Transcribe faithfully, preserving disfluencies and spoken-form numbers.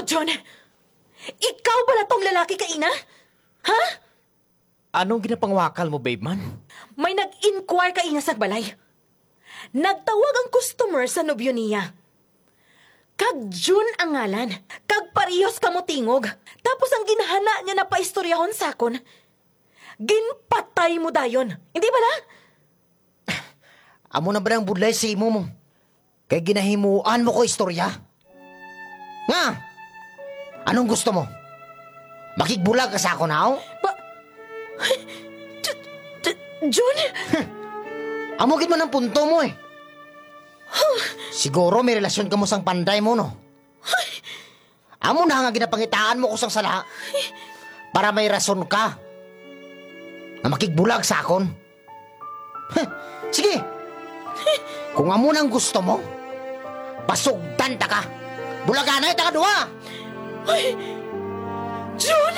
John, ikaw bala tong lalaki kaina? Ha? Anong ginapangwakal mo, babe man? May nag-inquire kaina sa balay. Nagtawag ang customer sa nobyo niya. Kag Jun ang ngalan. Kag parehos kamo tingog. Tapos ang ginhana niya na paistoryahon sa akon, ginpatay mo dayon. Hindi bala? Amo na ba ang budlay sa imo mo? Kay ginahimuan mo ko istorya? Nga? Anong gusto mo? Makigbulag ka sa akon, haw? Pa-, J-, J-, Jun? Amo gid man ang punto mo, eh. Siguro may relasyon ka mo sang panday mo, no? Amo na nga ginapangitaan mo ko sang sala para may rason ka nga makigbulag sa akon. Huh, sige. Kung amo nang gusto mo, pasugdan ta ka. Bulaganay ta ka duha. Ay, Jun!